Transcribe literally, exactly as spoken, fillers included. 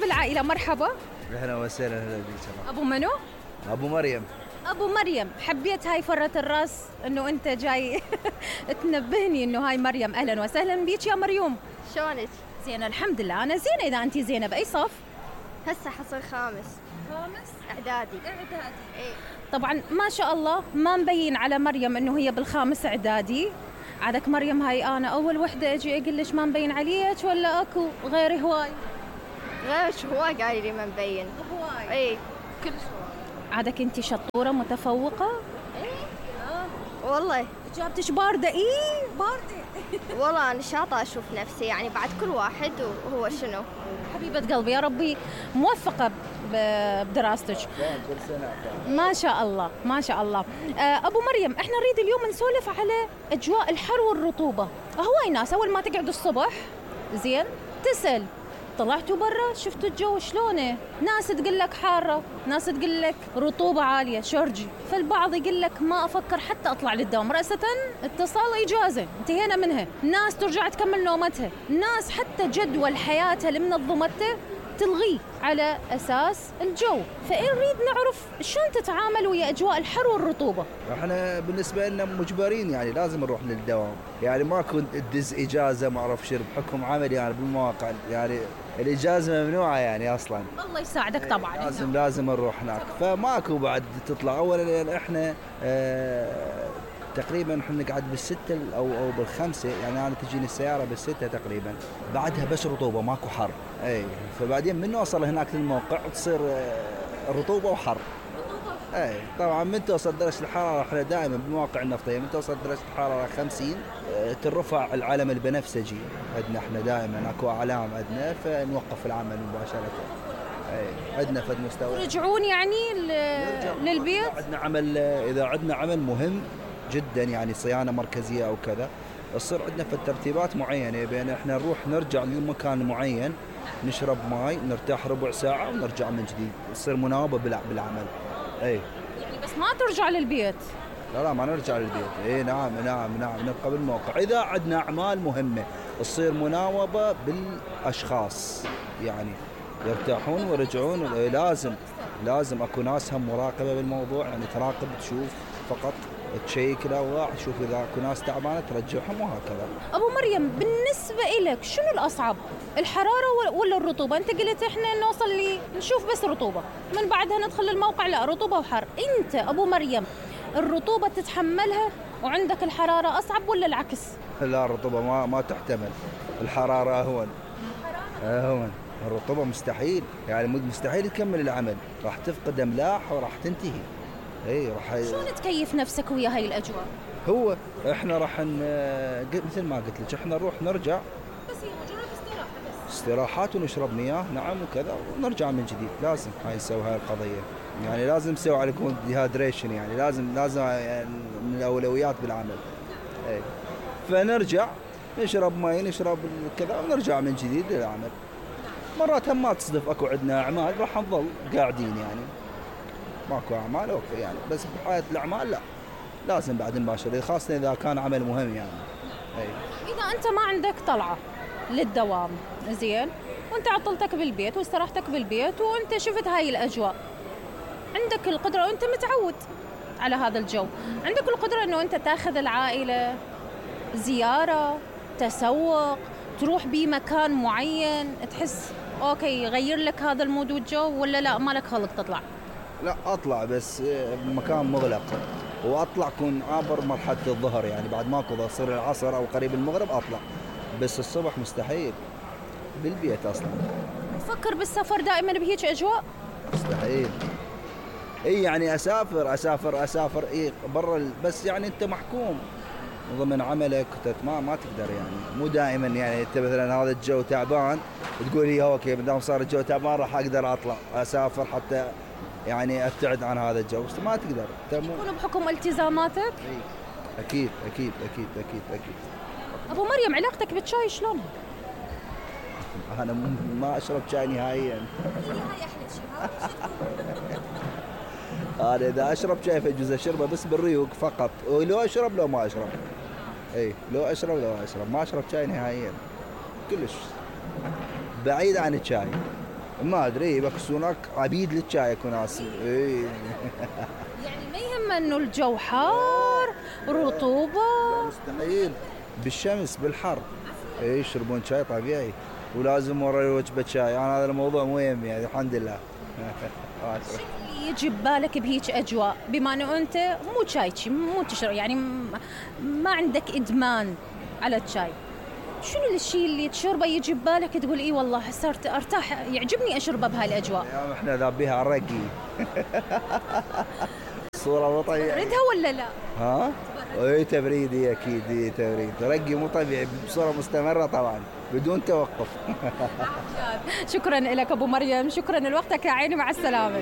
بالعائلة، مرحبا. اهلا وسهلا. اهلا بك. ابو منو؟ ابو مريم. ابو مريم، حبيت هاي فرة الراس انه انت جاي تنبهني انه هاي مريم. اهلا وسهلا بيك يا مريوم. شلونك؟ زين الحمد لله، انا زينة. اذا انت زينة باي صف؟ هسه حصل خامس. خامس اعدادي. اعدادي. ايه طبعا ما شاء الله ما مبين على مريم انه هي بالخامس اعدادي. عادك مريم هاي انا اول وحده اجي اقول لك ما مبين عليك ولا اكو غير هواي؟ غير شو هواي قايل لي ما مبين. هواي. ايه كل شوي. عادك انت شطوره متفوقه؟ ايه اه والله. اجابتك بارده. ايه بارده. والله انا شاطره اشوف نفسي يعني بعد كل واحد وهو شنو. حبيبه قلبي يا ربي موفقه بدراستك. ما شاء الله ما شاء الله. ابو مريم، احنا نريد اليوم نسولف على اجواء الحر والرطوبه. هواي ناس اول ما تقعد الصبح زين تسال طلعتوا برا شفتوا الجو شلونه؟ ناس تقول لك حاره، ناس تقول لك رطوبه عاليه شرجي، فالبعض يقول لك ما افكر حتى اطلع للدوام، رأسة اتصال اجازه انتهينا منها. ناس ترجع تكمل نومتها، ناس حتى جدول حياتها اللي منظمته تلغيه على أساس الجو. فنريد نعرف شلون تتعامل ويا أجواء الحر والرطوبة. احنا بالنسبة لنا مجبرين يعني لازم نروح للدوام، يعني ما كنت تدز إجازة ما أعرف شرب بحكم عملي يعني بالمواقع، يعني الإجازة ممنوعة يعني أصلا. الله يساعدك طبعا. لازم لازم نروح هناك، فماكو بعد تطلع. أولا احنا اه تقريبا احنا نقعد بالستة او او بالخمسة، يعني انا تجيني السيارة بالستة تقريبا، بعدها بس رطوبة ماكو حر. اي فبعدين من نوصل هناك للموقع تصير رطوبة وحر. اي طبعا من توصل درجة الحرارة، احنا دائما بالمواقع النفطية من توصل درجة الحرارة خمسين ترفع العلم البنفسجي عندنا، احنا دائما اكو اعلام عندنا فنوقف العمل مباشرة. اي عندنا فد مستوى ترجعون يعني للبيت. عندنا عمل، اذا عندنا عمل مهم جدا يعني صيانة مركزية أو كذا، تصير عندنا في الترتيبات معينة بين إحنا نروح نرجع لمكان معين نشرب ماي نرتاح ربع ساعة ونرجع من جديد، تصير مناوبة بالعمل. أي يعني بس ما ترجع للبيت؟ لا لا ما نرجع للبيت. إيه نعم نعم نعم نبقى بالموقع. إذا عندنا أعمال مهمة تصير مناوبة بالأشخاص، يعني يرتاحون ويرجعون. إيه لازم لازم أكو ناس هم مراقبة بالموضوع، يعني تراقب تشوف فقط تشيك الأوضاع، تشوف إذا أكو ناس تعبانة ترجعهم وهكذا. أبو مريم بالنسبة إلك شنو الأصعب؟ الحرارة ولا الرطوبة؟ أنت قلت إحنا نوصل لي نشوف بس رطوبة، من بعدها ندخل الموقع لا رطوبة وحر. أنت أبو مريم الرطوبة تتحملها وعندك الحرارة أصعب ولا العكس؟ لا الرطوبة ما ما تحتمل، الحرارة أهون. أهون. الرطوبة مستحيل، يعني مستحيل تكمل العمل، راح تفقد أملاح وراح تنتهي. اي راح. شلون تكيف نفسك ويا هاي الاجواء؟ هو احنا راح ن... مثل ما قلت لك احنا نروح نرجع بس هي مجرد استراحه بس استراحات ونشرب مياه نعم وكذا ونرجع من جديد. لازم هاي نسوي هاي القضيه، يعني لازم نسوي عليكم ديهايدريشن، يعني لازم لازم يعني من الاولويات بالعمل. اي فنرجع نشرب مي نشرب كذا ونرجع من جديد للعمل. مرات هم ما تصدف اكو عندنا اعمال راح نظل قاعدين، يعني ماكو اعمال اوكي يعني، بس بحياة الاعمال لا لازم بعد نباشر، خاصة اذا كان عمل مهم يعني. اي اذا انت ما عندك طلعة للدوام زين وانت عطلتك بالبيت واستراحتك بالبيت وانت شفت هاي الاجواء، عندك القدرة وانت متعود على هذا الجو، عندك القدرة انه انت تاخذ العائلة زيارة تسوق تروح بمكان معين تحس اوكي يغير لك هذا المود والجو، ولا لا مالك خلق تطلع؟ لا اطلع بس بمكان مغلق، واطلع كون عابر مرحله الظهر، يعني بعد ماكو تصير العصر او قريب المغرب اطلع، بس الصبح مستحيل بالبيت اصلا. تفكر بالسفر دائما بهيك اجواء؟ مستحيل. اي يعني اسافر اسافر اسافر اي برا، بس يعني انت محكوم ضمن عملك ما ما تقدر، يعني مو دائما يعني انت مثلا هذا الجو تعبان تقول لي اوكي ما دام صار الجو تعبان راح اقدر اطلع اسافر حتى يعني ابتعد عن هذا الجو، بس ما تقدر. يكون بحكم التزاماتك؟ اي اكيد اكيد اكيد اكيد اكيد. ابو مريم علاقتك بالشاي شلون؟ انا ما اشرب شاي نهائيا. هاي احلى شيء. انا اذا اشرب شاي فجوز اشربه بس بالريوق فقط، ولو اشرب لو ما اشرب. اي لو اشرب لو اشرب ما اشرب شاي نهائيا، كلش بعيد عن الشاي. ما ادري بس هناك عبيد للشاي اكو ناس. اي يعني ما يهم انه الجو حار رطوبه. مستحيل، بالشمس بالحر اي يشربون شاي طبيعي، ولازم ورا وجبه شاي. انا هذا الموضوع مو يهمني يعني الحمد لله. اللي يجي ببالك بهيج اجواء بما انه انت مو شايشي مو تشرب يعني ما عندك ادمان على الشاي، شنو الشيء اللي تشربه يجي ببالك تقول اي والله صرت ارتاح يعجبني اشربه بهاي الاجواء؟ يا احنا ذابيها على الرقي. الصوره مو طبيعيه. تبردها ولا لا؟ ها؟ اي تبريد، اي اكيد اي تبريد، رقي مو طبيعي بصوره مستمره طبعا بدون توقف. شكرا لك ابو مريم، شكرا لوقتك يا عيني، مع السلامه.